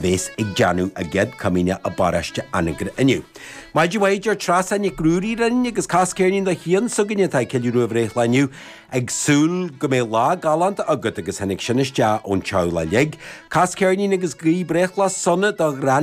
Bhéas ag déanamh a gcéad comaoineach i bparóiste Anagaire inniu. Maidin mhaith a deir Treasa Nic Ruairí linn agus cas ceirnín do Chian s'againne atá ag ceiliúradh a bhreithlá inniu ag súil go mbeidh lá galánta agat agus tháinig sin isteach ón teaghlach uilig. Cas ceirnín agus guí breithlá sona do ghran.